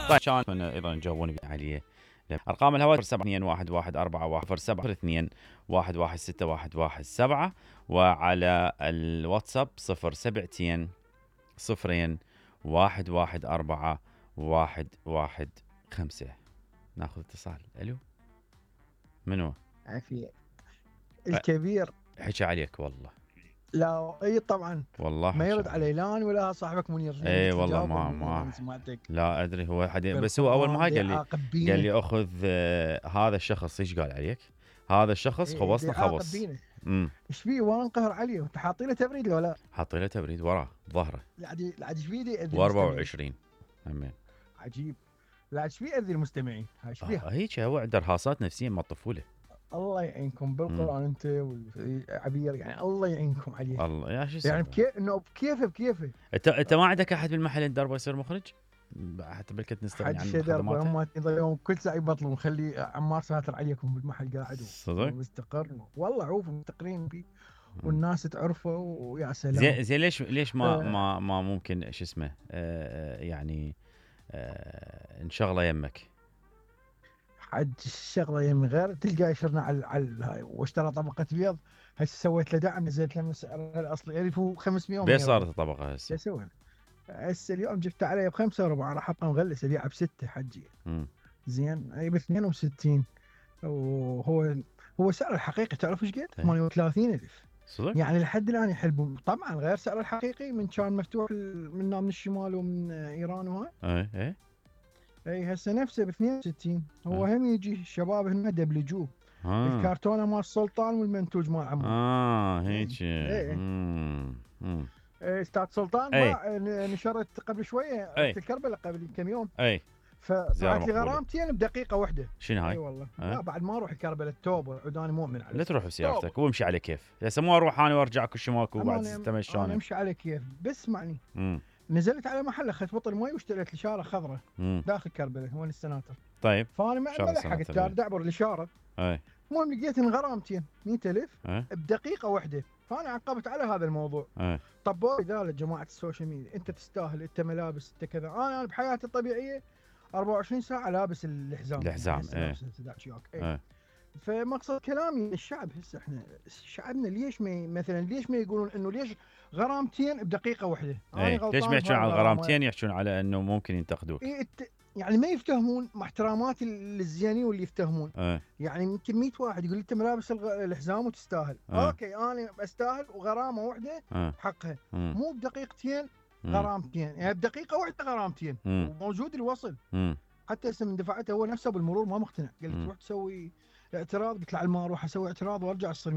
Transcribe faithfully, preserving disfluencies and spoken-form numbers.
طيب كان ايضا تجاوبوني عليه. ارقام الهواتف سبعة اثنين واحد واحد أربعة واحد سبعة اثنين واحد واحد ستة واحد واحد سبعة، وعلى الواتساب صفر سبعتين صفرين واحد واحد أربعة واحد واحد خمسة. ناخذ اتصال. الو، منو؟ عافية الكبير. حكى عليك والله. لا اي طبعا والله ما يرد علي لا أنا ولا صاحبك منير. اي والله ما ما لا ادري هو حد، بس هو اول ما هاي قال لي قال لي اخذ آه هذا الشخص. ايش قال عليك؟ هذا الشخص إيه خبصنا خبص. امم ايش فيه وانقهر عليه؟ انت حاطين له تبريد ولا لا؟ حاطين له تبريد وراه ظهره. لا عاد لا عاد ايش فيه و أربعة وعشرين. امين. عجيب. لا ايش فيه اذي المستمعين؟ ايش فيه؟ آه هيك هو عنده ارهاصات نفسيه من الطفوله. الله يعينكم بالقران انت والعبير، يعني الله يعينكم عليه. الله يا شو يعني بكيف انه بكيفه بكيفه. انت انت ما عندك احد بالمحل الدربه يصير مخرج؟ حتى بالكت نستغني عن خدماته. هم يضيعون كل ساعه يبطلون. خلي عمار ساتر عليكم بالمحل قاعد صدق مستقر والله. عوف مستقرين فيه والناس تعرفه ويا سلام. زين زين ليش ليش ما آه ما ما ممكن شو اسمه آه يعني آه انشغله يمك؟ حد الشغله يم غير تلقى يشرنا على على هاي واشترى طبقه بيض. هسه سويت له دعم نزلت له من سعرها الاصلي ألف وخمسمية. بيش صارت الطبقه هسه؟ شو اسوي؟ هسه اليوم جبت عليه بخمسة وربع راح ابقى مغلس ابيعه بستة حجي. امم زين اي ب اثنين وستين. وهو هو سعر الحقيقي تعرف ايش قد؟ ثمانية وثلاثين ألف. صدق؟ يعني لحد الان يحلبون طبعا غير سعر الحقيقي من كان مفتوح منا من الشمال ومن ايران وهاي. اي اي اي هسه نفسه ب اثنين وستين. هو هم يجي الشباب هنا دبلجوه. آه. الكرتونه مال السلطان والمنتوج مال عمو. اه هيك. اي امم امم استاذ سلطان باع نشرت قبل شويه رحت الكربلاء قبل كم يوم. اي فطلعت لي غرامتين بدقيقه واحده. شنو هاي؟ اي والله أه؟ لا بعد ما اروح الكربلاء التوبه عداني مؤمن عليه. لا تروح بسيارتك وامشي على كيف. هسه مو اروح انا وارجع كل ماكو بعد تمشون. انا امشي على كيف بس اسمعني. نزلت على محل اخذت بطل مي واشتريت لي شاره خضراء داخل كربلاء وين السناتر. طيب فانا ما لحقت دعبر الاشاره. اي المهم لقيت غرامتين مئة ألف بدقيقه واحده. فانا عقبت على هذا الموضوع. أي. طبوا لي قالت جماعه السوشيال ميديا انت تستاهل انت ملابس انت كذا. انا بحياتي الطبيعيه أربعة وعشرين ساعه لابس الحزام. الحزام ايه, إيه. فمقصد كلامي الشعب هسه احنا شعبنا ليش ما مثلا ليش ما يقولون انه ليش غرامتين بدقيقه واحده؟ ايه. ليش ما يحكون عن الغرامتين يحكون على انه ممكن ينتقدوك؟ إيه الت... يعني ما يفتهمون مع احتراماتي للزيانين واللي يفتهمون. أيه. يعني يمكن مئة واحد يقول انت ملابس الغ... الحزام وتستاهل. أيه. اوكي انا استاهل وغرامه واحده أيه. حقها. مم. مو بدقيقتين غرامتين يعني بدقيقه واحده غرامتين. وموجود الوصل. مم. حتى هسه من دفعته هو نفسه بالمرور ما مقتنع. قال لي تروح تسوي اعتراض. قلت له على ما اروح اسوي اعتراض وارجع تصير